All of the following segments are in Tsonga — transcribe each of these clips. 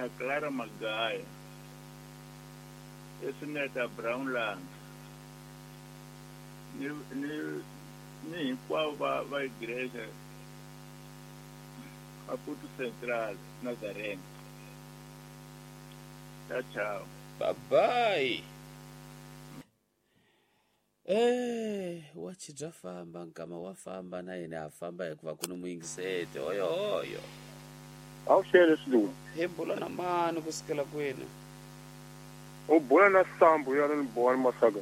Na Clara Magaya. Esineta Brown Langa. Ni hinkwavo va igreja Maputo Central Nazarene. Tchau, tchau. Bye bye. Wachi bya famba nkama wa famba na yena a famba hikuva ku ni muyingiseti hoyo hoyo. A wu xele swilungu. Hi bula na mani ku sukela kwini? U bula na Sambu ya ni Bowani Masaka.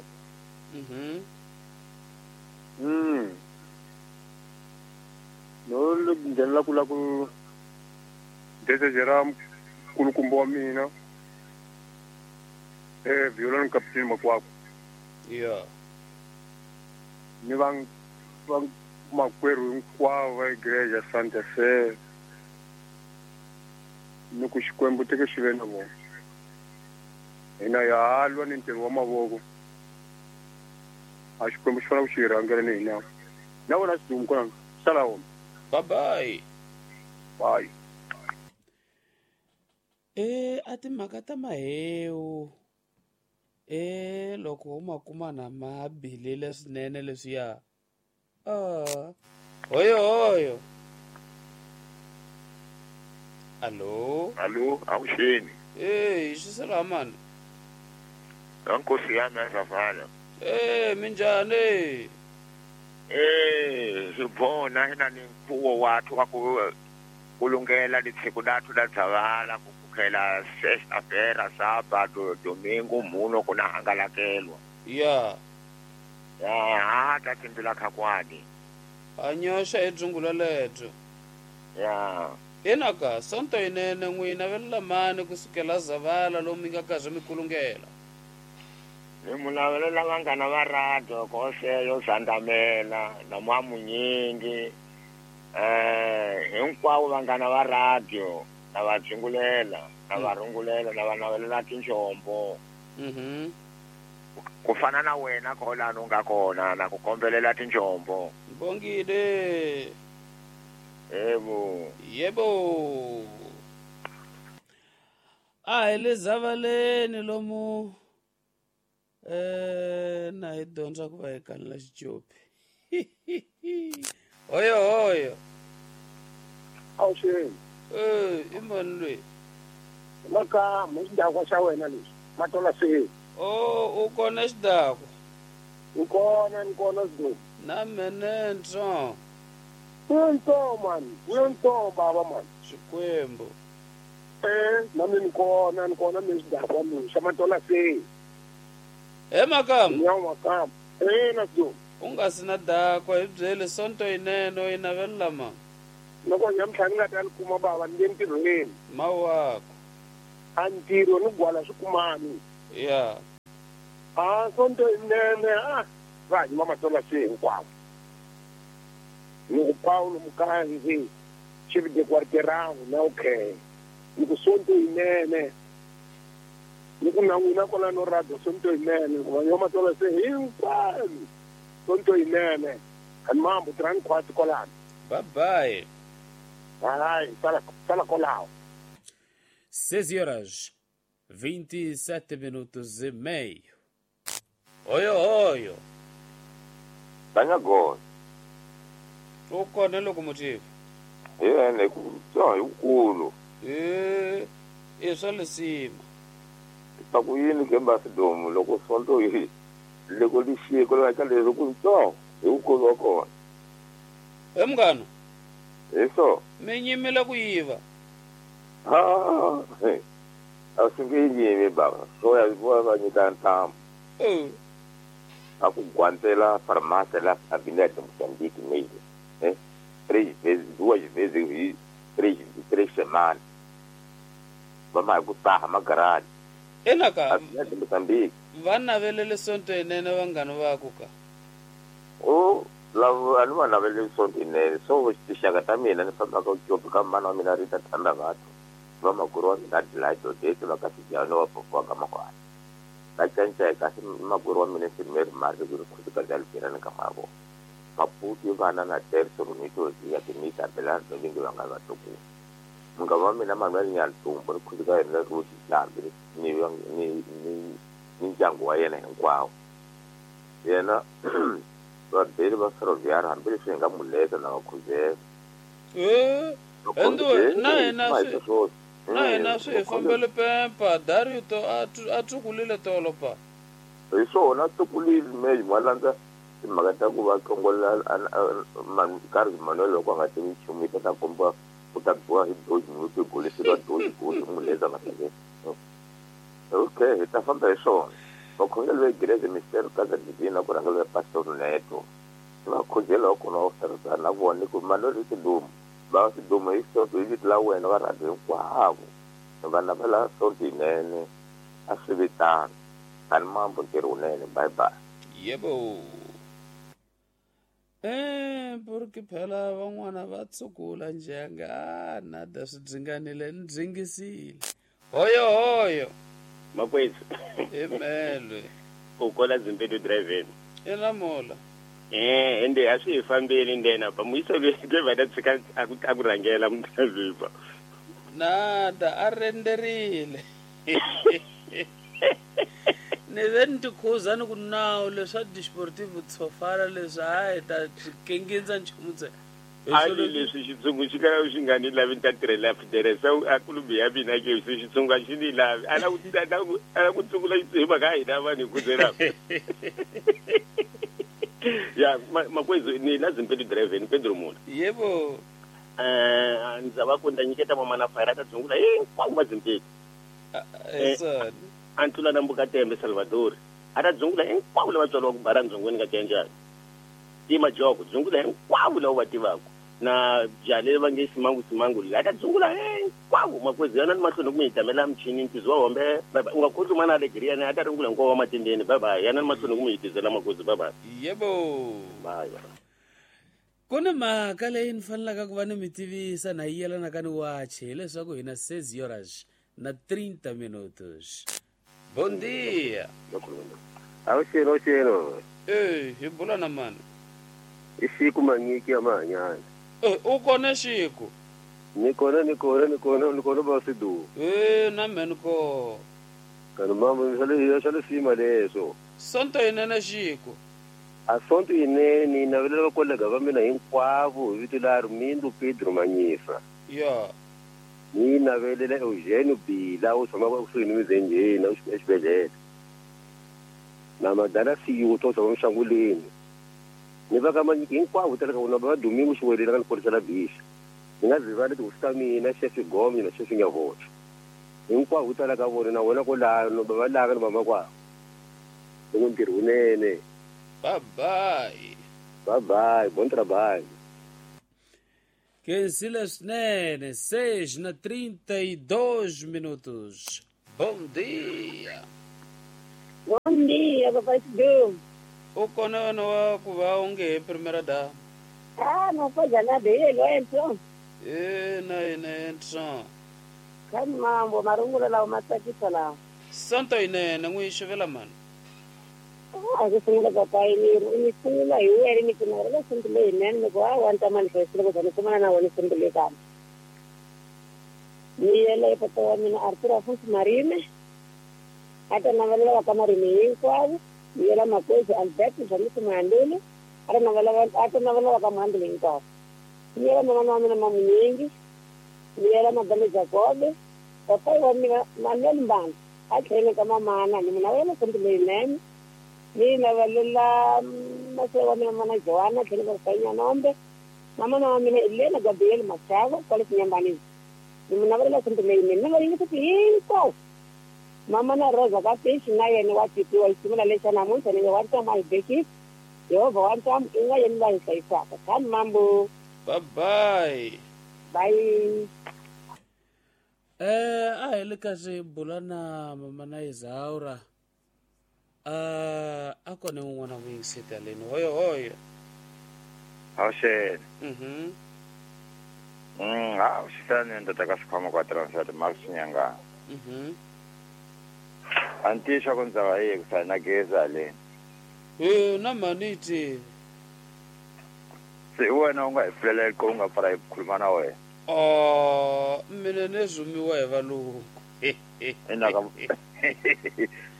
No nghenela ku la ku desejera nkulukumba wa mina. Viola Kapiteni Makwakwa. Yeah. Ni va makwerhu hinkwavo va igreja Santa Fe. Ni ku Xikwembu teke xi ve na vona. Hina ya lwa ni ntirho wa mavoko. A Xikwembu xi fanele ku xi rhangela ni hina. Na wena Sidumo kona sala wona. Bye bye. Bye. A timhaka ta mahewu. Loko u ma kuma na ma bilile swinene leswiya. Hoyo hoyo. Allo? Allo, awuxeni. Xisela mani. Nkosi yami azavala. Minjhani? Sibona hina ni mfuwo wathu wa ku kulungela litsiko lathu la Dzavala kukhela sexta-feira, sábado, domingo, muno kuna hangalakelwa. Yeah. Ya, ta tshimbila khakwani. A nyoxa hi dzungula lebyo. Ya. Enaka sonto yinene n'wina velela mani kusukela Zavala lomu mi nga karhi mi kulungela. Ni mulavelela vanghana va radio koseyo Zandamela na Mwamunyingi. Hinkwavo vanghana va radio na va dzungulela na va rungulela na va navelela tinjombo. Ku fana na wena kolano nga kona na ku kombelela tinjombo. Bongile. Yebo. Yebo. A hi le Zavaleni lomu na hi dyondza ku va hi kanela xicopi. Hoyo hoyo. Awuxeni. I mani loyi? Makamu xidakwa xa wena lexi. Matola se. U kona xidakwa? Ni kona, ni kona Sidumo. Na mene ntsongo. Ntsongo mani, ntsongo baba mani. Xikwembu. Na mina ni kona mina xidakwa mina xa Matola se. Makamu. Nyawo Makamu. Na Sidumo. U nga si na dakwa hi byele sonto yinene u yi navelela mani. Loko nyamutlha ni nga ta ni kuma baba ni le ntirhweni. Mawako. A ntirho ni gwala swi kumani. Yeah. A sonto yinene va hanyima Matola se hinkwavo. Ni ku Paulo Mukanzi chef de quartier na okay. Ni ku sonto yinene. Ni ku na n'wina kwalano radio sonto yinene ku va yo Matola se hinkwavo. Sonto yinene. Ani mambo tirhani khwati kwalano. Bye bye. Bye, sala kwalaho. 6:27:30. Oyo oyo. Tanyago. U kona locomotive. Yena ku tso hi kulu. I swa lisima. Ta ku yini ke Sidumo loko sonto yi loko li xiko la ka leswi ku tso hi kulu wa kona. Munghana. Hi so. Mi nyimela ku yiva. A swi nge yimi baba. So ya va nyika ntamu. A ku guantela farmácia lá Avenida de Moçambique mesmo. 3 vezes, 2 vezes e 3 semanas. Vamos ku taha magaradi. Enaka. Avenida de Moçambique. Va navelele sonto yinene vanghana va ku ka. Lava a ni va naveleli sonto yinene. So tixaka ta mina ni fambaka ku ka mana wa mina Rita Thanda Vathu. Va makwerhu wa mina Delight Odete va ka Sijano wa Popo ka Makwani. Va cinca kasi makwerhu wa mina Simeri Mari ku ri khosikazi ya Lupirani ka mavo. Maputi vana na Terso Romito ya Timita Belardo vingi va nga vatukulu. Munghana wa mina Manuel Nyantumbo ni khuluka yena Ruth Hlambi ni ni ni ni ndyangu wa yena hinkwawo. Yena vabeli va Ferroviário hambileswi hi nga muleta na vakhuzela. Na hina swi hi fambele pempa Dario to a tsukulile tolo pa. Hi swona a tsukulile me ma landza timhaka ta ku va hlongola karhi Manuel loko a nga tivi nchumu yi ta komba ku ta biwa hi doji ni golisiwa doji gosi muleza nga hleketi. Okay, hi ta famba hi swona. Vakhongeri va Igreja Mistério Casa Divina ku rhangela Pastor Neto. Vakhongeri va kona va tirhisana na vona ku Manuel i Sidumo. Va Sidumo hi sonto hi vito la wena va rhandza hinkwavo. Va navela sonto yinene a swi vitana. Tani mambo ntirho wunene. Bye bye. Yebo. Porque phela van'wana va tsukula njhanga nada swi dzinganile ni dzingisile. Hoyo hoyo. Makwethu. Emelwe. U kola Zimbedu driveni. Ena mola. Ende a swi hi fambeli ndena pa muyisa loyi va ta tshika a ku rhangela mudriver. Nada a renderile. Ni ve ni tikhuza ni ku nawu leswa Desportivo Tsofala leswi a hi ta kengindza nchumu ntsena. Ali leswi xitshungu xi kala xi nga ni lavi ni ta tirhela Federation a kulubi ya mina ke se xitshungu a xi ni lavi a la ku tsungula hi mhaka hina vanhu hi khuzelaka. Ya makwethu ni la Zimbedu driveni Pedro Mula. Yebo. Ndza va ku ndza nyiketa mamana fire ta dzungula hinkwavo va Zimbedu. A ntlula na mbuka tembe Salvador a ta dzungula hinkwavo lava tswariwaka bara ndzongweni ka Tiyanjani. Tima joko dzungula hinkwavo lava va tivaka na jale va nge simangu simangu la ta dzungula hinkwavo makwethu yana ni mahlweni ku mi hitamela michini ntizo wa hombe bye bye. U nga khohlwi mana alegria a ta ringula hinkwavo wa matendeni bye bye. Yana ni mahlweni ku mi hitizela makwethu bye bye. Yebo. Bye bye. Ku ni mhaka leyi ni fanelaka ku va ni mi tivisa na yi yelanaka ni wachi hileswaku hina 6 horas na 30 minutos. Bom dia. Awuxelo xelo. Hi bula na mani? I Xiku Manyiki ya Mahanyana. U kona Xiku? Ni kona ba Sidu. Na mhe ni ko. Kana mama swa le sima leswo. Sonto yinene Xiku. A sonto yinene navelela vakolega va mina hinkwavo hi vito la Armindo Pedro Manyisa. Ya. Ni navelela Eugenio Bila u tshama kusuhi ni Mizenjeni exibedhlele. Na Madala Siyuto u tshama Mixanguleni. Ni va ka Manyiki hinkwavo tala ka vona va Domingo Xiwelela ka ni korisela bixa. Ni nga zivali tihosi ta mina Chef Gomye na Chef Nyavocho. Hinkwavo tala ka vona na wena kwalano va laka ni vamakwavo. Loko ntirho wunene. Bye bye. Bye bye, bom trabalho. Khensile swinene 6:32 minutos. Bom dia. Bom dia, papai Sidu. U kona wena wa ku va u nge he primeira dama. Ah, não pode nada ele, então. Na yena então. Kani mambo marungulo lawa ma tsakisa lawa. Sonto yinene n'wi xavela mani. A ku sungula papai ni sungula hi wena ni ku navela sonto leyinene ni ku a wa ni ta manifest loko za ni kumana na wena sonto leyi kambe. Ni yele papa wa mina Arthur Afonso Marime a ta navelela va ka Marime hinkwavo. Ni yela makwethu Alberto Jamisi Muhanduli a ta navelela va ka Muhanduli hinkwavo. Ni yela mamana wa mina Mamunyingi. Ni yela Madame Jacobe papai wa mina Manuel Mbanda a tlhele ka mamana ni mina wena sonto leyinene. Ni navelela maswe wa mina mana Joana tlhele ka papai Nyanombe mamana wa mina Elena Gabriel Machavo kwale Xinyambanini. Ni mi navelela sonto leyinene ni va yingisa hinkwavo. Mama na Rosa ka Fish na yena wa tipiwa ximila lexa namuntlha ni wa ntama hi bekisi Yehovha wa ntamu i nga yena la hi hlayisaka. Kani mambo. Bye bye. Bye. A hi le ka swi bula na mama na Izaura. A kona un'wana ku yingiseta leni. Hoyo hoyo. Awuxele. Awuxisani ndoda ka xikhwama kwa transfer Max Nyanga. Antisha ku ndza va yi ku na geza le. Na maniti. Se wena u nga hi pfulela ku u nga pfala hi khuluma na wena. Oh, mina ni rhumiwa hi valungu. Ina ka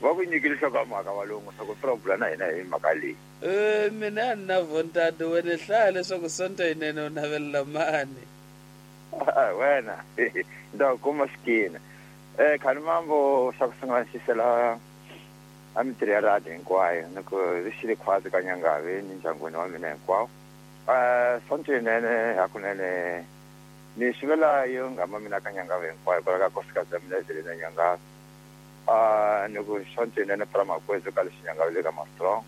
va ku nyikile nhlokomhaka valungu swa ku swi na hina hi mhaka leyi. Mina a ni na vontado wena hlaya leswaku sonto yinene u navelela mani. Wena ni ta ku kuma xikina. Khani mambo xa ku sungula ni xisela a mintirho ya radio hinkwayo ni ku ri xile khwatsi ka Nyangavi ni ndyangwini wa mina hinkwawo. Sonto yinene hakunene ni xivela yo nghama mina ka Nyangavi hinkwayo kwala ka nkosikazi ya mina Evelina Nyangavi. Ni ku sonto yinene pra makwezu ka lexi Nyangavi le ka Mastrong.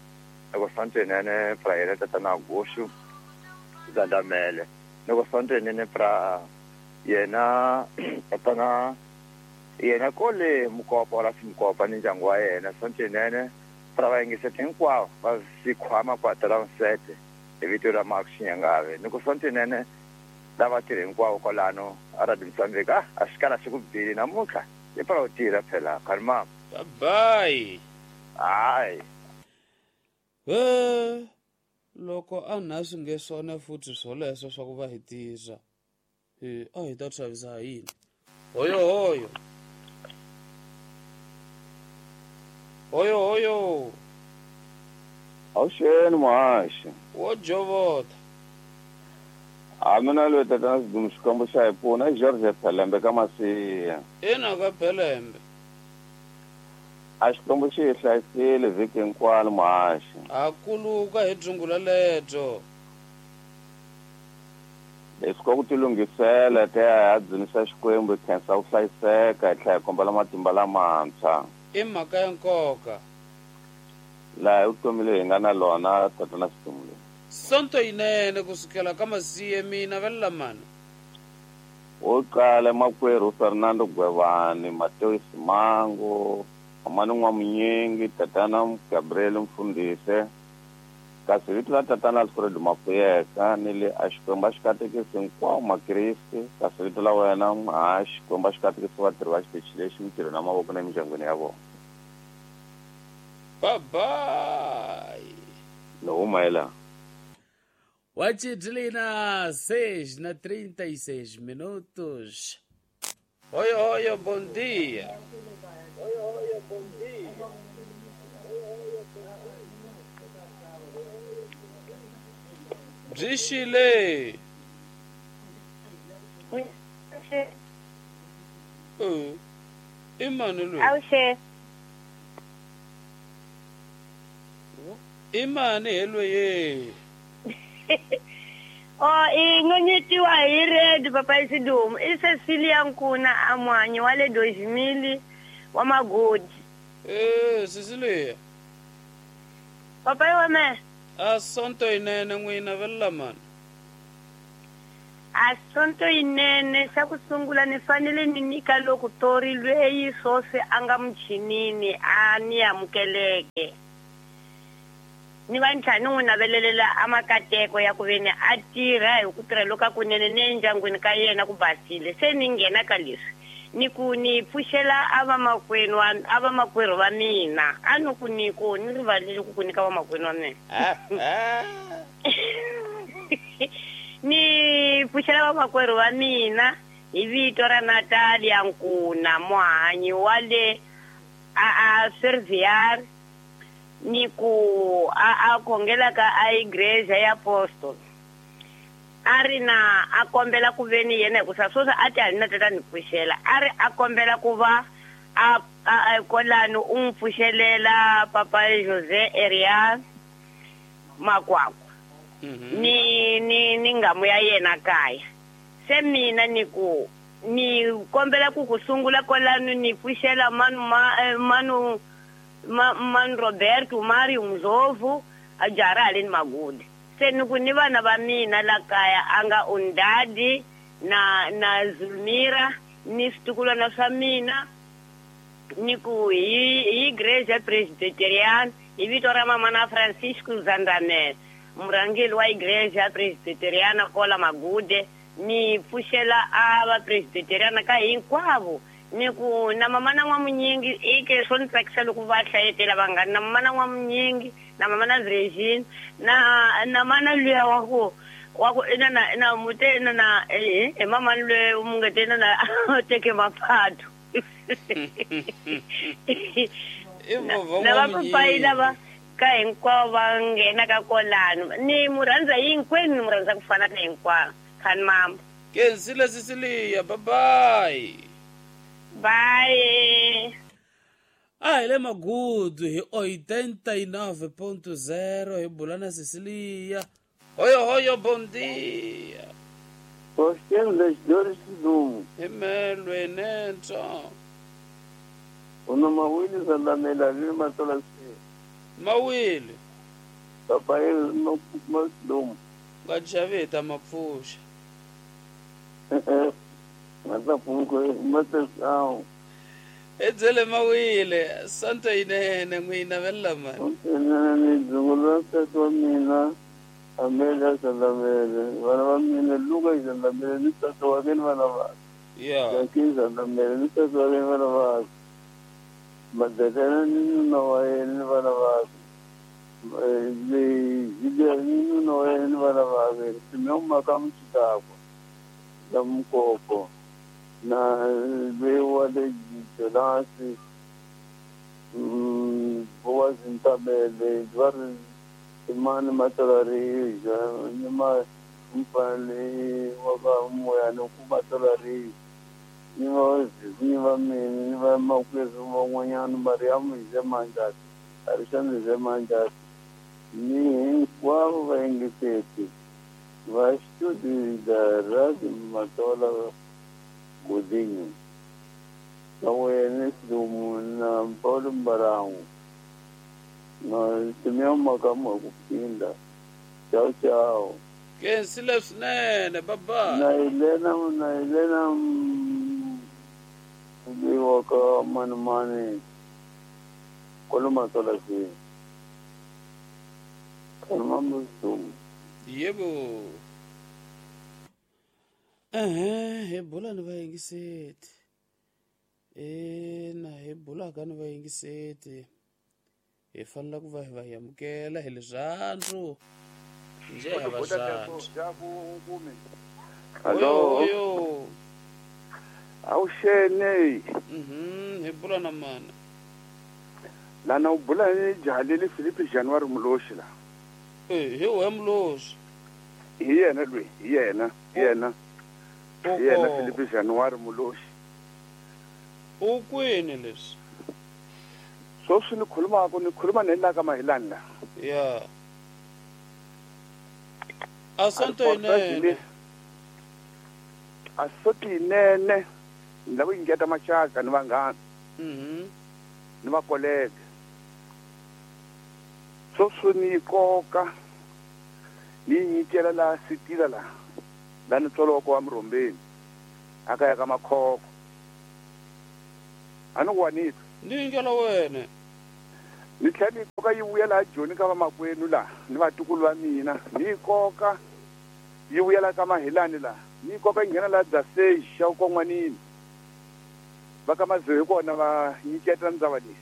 Ni ku sonto yinene pra yena tatana Gushu Zandamele. Ni ku sonto yinene pra yena tatana yena kole Mukopa wala Simukopa ni ndyangu wa yena. Sonto yinene pra vayingiseti hinkwavo va sikhwama kwata ra nsete hi vito ra Mark Xinyangave. Ni ku sonto yinene lava tirhi hinkwavo kwalano a Radio Mozambique. A xi kala xi ku bile namuntlha i pra u tirha phela khani mama. Bye bye. Hayi. Loko a na swi nge swona futhi swoleswo swa ku va hi tirha a hi ta xavisa ha yini. Hoyo hoyo. Hoyo hoyo. Awuxeni muhaxi. Wo jovota. A mina loyi tatana Sidumo Xikwembu xa hi pfuna i George Phelembe ka Masiya. Ina ka Phelembe. A Xikwembu xi hi hlayisile vhiki hinkwalo muhaxi. Ha kuluka hi dzungula lebyo. Leswi ka ku tilunghisela hi ta ya hi ya dzunisa Xikwembu hi khensa ku hlayiseka hi tlhela hi kombela matimba lamantshwa. I mhaka ya nkoka. Laha hi vutomi leyi hi nga na lona tatana Sidumo leyi. Sonto yinene ku sukela ka Masiye mina velela mani. Wo qala makwerhu Fernando Gwevani, Mateo Simango, Amani N'wamunyingi, tatana Gabriel Mfundhise, kasi vito la tatana Alfred Mapuyeka ni le a Xikwembu a xi katekisi hinkwawo makriste, kasi vito la wena muhaxi Xikwembu a xi katekisi vatirhi va xitichi lexi mintirhweni ya mavoko na emindyangwini ya vona. Bye bye. Ni huma hi laha. Wachidlina 6 na 36 minutos. Hoyo hoyo, bom dia. Byi xile. I mani loyi? Awuxe. I mani he loyi? Oh, i nonyetiwa hi red papa Isidumo. I Cecilia Nkuna amwanyi wa le Dozimili wa Magodi. Cecilia. Papa wa me. A sonto yinene n'wina velela mani. A sonto yinene xa ku sungula ni fanele ni nyika loko tori lweyi swoswi a nga muchinini a ni amukeleke. Ni va ntlhanu n'wi navelelela a makateko ya ku veni a tirha hi ku tirha loka kunene ni endyangwini ka yena ku basile. Se ni nghena ka leswi ni ku ni pfuxela a vamakwenu a vamakwerhu va mina. A ni ku ni ku ni rivalile ku ku nyika vamakwenu wa mina. Ni pfuxela vamakwerhu va mina hi vito ra Natalia Nkuna muhanyi wa le a Serviar ni ku a khongela ka a igreja ya apostol. A ri na a kombela ku veni yena hikusa sweswi a ti a ni na tata ni pfuxela. A ri a kombela ku va a kolani u n'wi pfuxelela papa Jose Arias Makwakwa. Ni ngamu ya yena kaya. Se mina ni ku ni kombela ku ku sungula kolani ni pfuxela manu manu Roberto Mario Mzovu a jara haleni Magudi. Se ni ku ni vana va mina la kaya a nga Undadi na Zulmira ni switukulwana swa mina ni ku hi igreja Presbyterian hi vito ra mama na Francisco Zandamela murhangeri wa igreja Presbyteriana kola Magude ni pfuxela a va Presbyteriana ka hinkwavo. Ni ku na mama na N'wamunyingi i ke swo ni tsakisa loko va hlayetela vanghana. Na mama na N'wamunyingi na mama na Virgin na mana luya wa ku Wa ku ina na ina mute ina na eh mama lwe mungete ina na teke maphathu. Na va papayi lava ka hinkwavo va nghena ka kolano ni mu rhandza hinkwenu ni mu rhandza ku fana na hinkwavo khani mama. Kensile Cecilia, bye bye. Bye. A hi le Magudu hi 89.0 hi bula na Cecilia. Hoyo hoyo, bom dia. Faustino das Dores Sidumo. Hi nentsho. Una mawili zalamela le matola se. Mawili. Papa no Sidumo. Nga xaveta mapfusha. Matapunko matasao. Edzele mawile santo inene n'wina vella mani. Ni dzungula tata mina. Amelia Zalamele, vana va mina Luka Zalamele ni tata wa mina vana va. Yeah. Jackie Zalamele ni tata wa mina vana va. Madalena ni nuna wa yena ni vana va. Julia ni nuna wa yena ni vana va. Simeon Makamu Chidakwa na Mukoko na Bewa le Jonasi Boaz Ntabele Dwar Imani matalari nima mpale waka moya nokumatalari nima nima mini nima makwezu mangwanyana Mariamu Zemanjati Arishani Zemanjati ni hinkwavo vaengeteti va studio da Radio Matola Godinho na wena Sidumo na Paulo Mbarangu na Simeon Makamu kupinda. Tchau tchau. Kensile swinene, bye bye. Na Helena Mbiwaka manumani koloma tola si. Kalma musum. Yebo. Hi bula ni vayingiseti. Na hi bula ka ni vayingiseti. Hi fanele ku va hi va amukela hi rirhandzu njhe ha va rhandzu. Hello. Awuxene. Hi bula na mana. Lana u bula ni jahaleli Philippe January Muloshi la. Hi we Muloshi. Hi yena lwe, hi yena, hi yena. Hi yena Philippe January Muloshi. U kwini leswi? Sweswi ni khulumaka ni khuluma ni la ka Mahilani la. Yeah. Asante inene. Asante inene. Ni lava ku nyiketa maxaka ni vanghana. Ni va colleague. Sweswi ni koka ni nyikela la sitila la. La ni tswaloko wa Murhombeni. Aka ya ka Makhoko. A ni ku wa ni twa. Ni nyikela wena. Ni tlhela ni koka yi vuya laha Joni ka vamakwenu laha ni vatukulu va mina. Ni koka yi vuya la ka Mahilani laha. Ni koka yi nghena laha Dzaseji xa Kon'wanini. Va ka Mazoe hi kona va nyiketa ndzava leyi.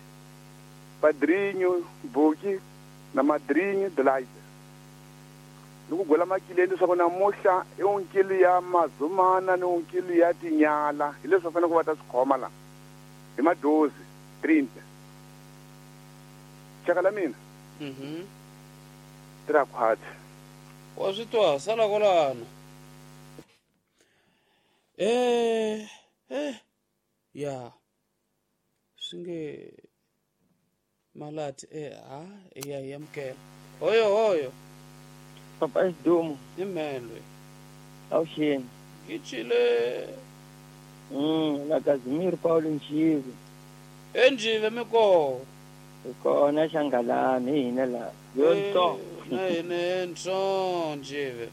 Padrinho, Buki na Madrinho Delight. Ni ku gwela makileni leswaku namuhla i onkili ya Mazumana ni onkili ya Tinyala. Hi leswi va faneleke va ta swi khoma laha. Hi madozi 30. Xaka la mina. Tira khwatsi. Wa swi twa sala kwalano. Ya. Swi nge malati ha ya hi amukela. Hoyo hoyo. Papa Sidumo. Hi mhelwe. Awuxeni. Ngichile. La Casimir Paulo Njive. Enjive miko. Kona Xangalani hina la. Yonto. Na hina ntsho Njive.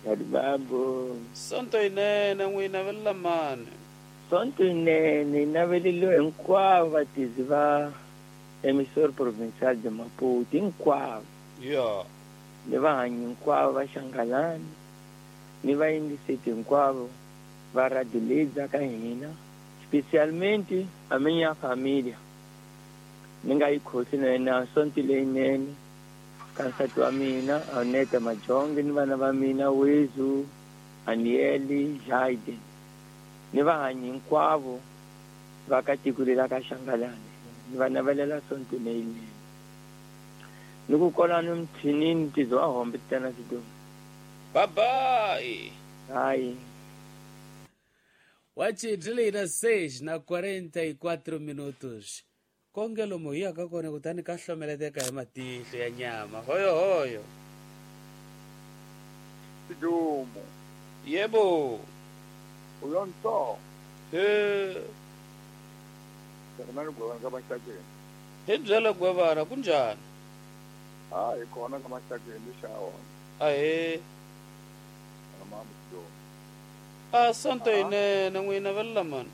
Yadibambo. Sonto inene n'wina vella mani. Sonto inene naveleliwe hinkwavo vatizi va emissor provincial de Maputo hinkwavo. Yeah. Ni vahanyi hinkwavo va Xangalani ni vayingiseti hinkwavo va radio leyi ka hina specialmente a minha família. Ni nga yi khosi na yena sonto leyinene Ka nsati wa mina Aneta Majonge ni vana va mina Wezu, Anieli, Jaide ni vahanyi hinkwavo va ka tiko leri ra ka Xangalani. Ni va navelela sonto leyinene. Ni ku kolani muthinini ntizo wa hombe tana sidomu. Bye bye. Bye. Wachi 6 na 44 minutos. Konge lomu hi yaka kona kutani ka hlomeleteka hi matihlo ya nyama. Hoyo hoyo. Sidumo. Yebo. Uyonto. He. Fernando Gwevana ka Mahlakeni. Hi byela Gwevana kunjani? Ah, hi kona ka Mahlakeni xa wona. Ahe. Mama Sidumo. A sonto yinene n'wina velela mani.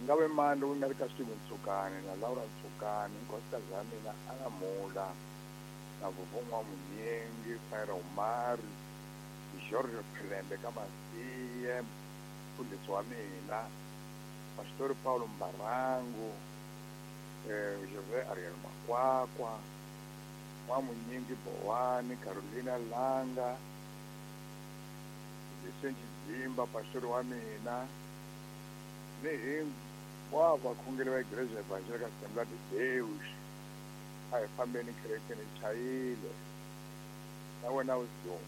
Nga ve mani lowu nga ri ka Steven Ntsukani na Laura Ntsukani, nkosikazi ya mina Ana Mula na Vuvun'wa Munyengi, Fire Omari, George Philembe ka Masiye, mfundhisi wa mina, Pastor Paulo Mbarangu, Jose Ariel Makwakwa, N'wamunyingi Bowani, Carolina Langa, Vicente Dzimba, pastor wa mina, ni hinkwavo vakhongeri va Igreja Evangélica Assembleia de Deus. A hi fambeni kerekeni chayile. Na wena u duma.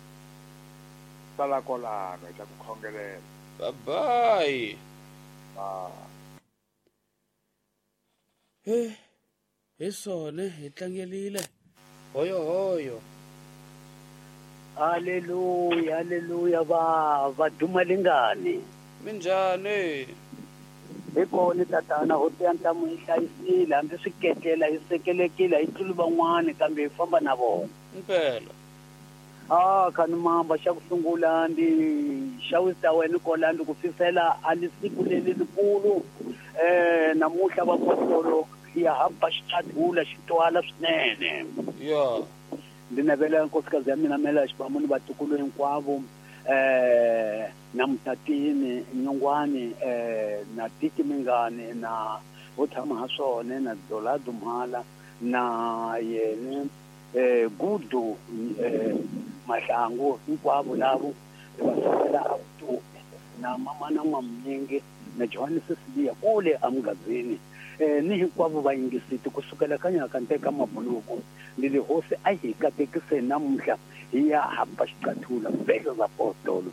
Sala kolano hi ta ku khongelela. Bye bye. Bye. He, hi swona hi tlangelile. Hoyo hoyo. Haleluya, haleluya va duma lingani. Minjhani? Hi kona tatana hosi ya ntamu yi hlayisile hambi swi ketlela hi sekelekile hi tluli van'wani kambe hi famba na vona. Impela. Ah, khani mamba xa ku sungula ndi xawisa wena kola ndi ku fisela a li siku leli likulu namuhla vapostolo ya hamba xitshadula xi twala swinene. Ya. Ndi navela nkosikazi ya mina Mela Xibamu ni vatukulu hinkwavo na Mutatini Nyongwani na Tiki Mingani na vo tshama ha swona na Dolado Mhala na yene Gudu Mahlangu hinkwavo lavo va sukela a vutomi na mama na N'wamunyingi na Johannes Sibiya kule amugazini ni hinkwavo va yingisiti kusukela ka nyaka nteka mabuluku ni le hosi a hi katekise namuntlha hi ya hamba xiqathula vhelo za apostolo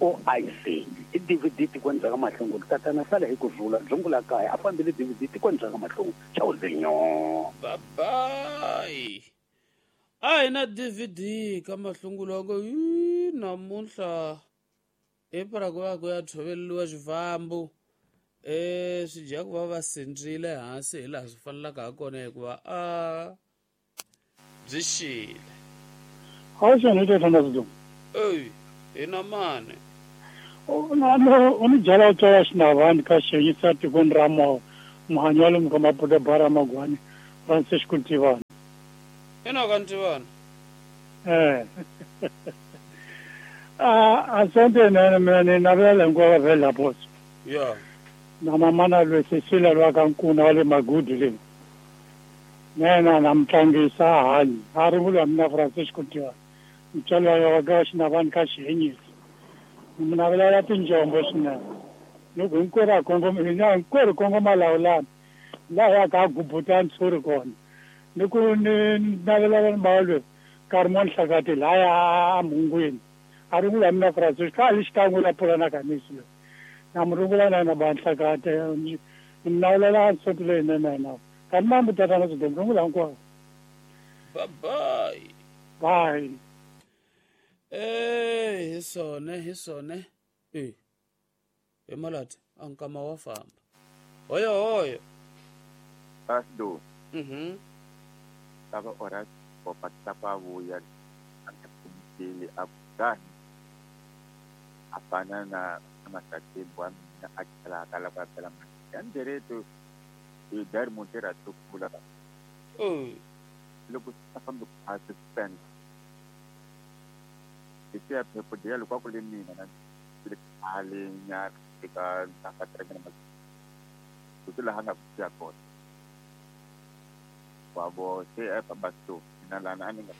OIC i DVD tikweni ka mahlungu tatana sala hi ku rhula dzungula kaya a fambile DVD tikweni ka mahlungu chauzinyo. Bye bye. A hi na DVD ka mahlungu loko namuntlha i para ku va ku ya tshoveriwa xifambo swi dya ku va va sindzile hansi hi laha swi fanelaka ha kona hikuva a byi xile. Ey, hi na mani? U ni byela u tswala xinavani ka xiyengisa tikweni ra muhanyi wa le Mukamaputa bara Magwani Francisco Ntivani. Ina ka Ntivani? A sonto nene mina ni navela hinkwavo va vhela poso. Ya. Na mamana lwe Cecilia lwa ka Nkuna wa le Magudu le. Nena na mutlangisa hanyi a ri vula mina Francisco Ntivani. Mutswari wa ka xinavani ka xihenyisi. Ni navelela tinjombo swinene. Loko hinkwerhu a kongoma hinkwerhu kongoma lawulani laha ya ka gubuta ntshuri kona. Ni ku ni navelela mbalwe Carmon Hlakati laya a mhungwini. A ri vula mina Francisco a li xikan'we la pulana kanisi loyi. Na mu rungula na ba Hlakati ni navelela nsoti leyinene na. Kanti mambu tatana swi rungula hinkwavo. Bye bye. Bye. Hi swona hi swona. Hi malati a nkama wa famba. Hoyo hoyo. Asdo. Tava ora opa tapa vuya a a afana na masakembo wa mina a tlhela a kala ku apela yandereto hi dari montera tukula. Loko a fambi ku spend isiya phepho dia loko a ku le mina na le khale nyana eka ka tirhela ma ku laha nga ku siya kona wa vo se a famba so Mina lana a ni nga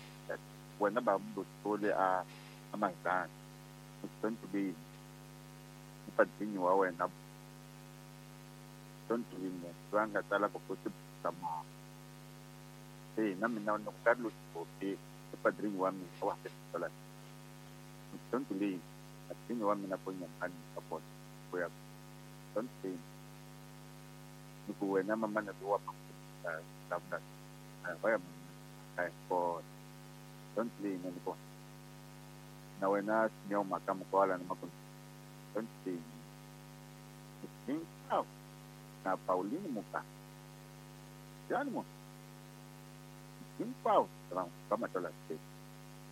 wena ba mudotole a mahitani Tontulini mupadzinyi wa wena Tontulini loyi a nga tsala ku ku se na mina loko Carlos Bope i padrinyi wa mina wa ha Tontulini padrinyi wa mina ponyamani ka kona ku ya Tontulini ni ku wena mamana lowa vulavula va ya mamana kona Tontulini ni kona na wena Simeon Makamukwala na Makundu Tontulini hinkwavo na Pauline Muka yani mo hinkwavo va Matola State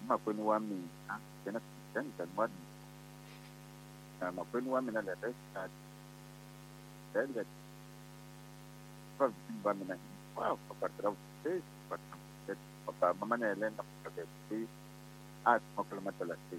makwenu wa mina yena Christian wa mina makwenu wa mina le Restart va va mina hinkwavo va kwatira papa mama na Helena a makolo Matola State.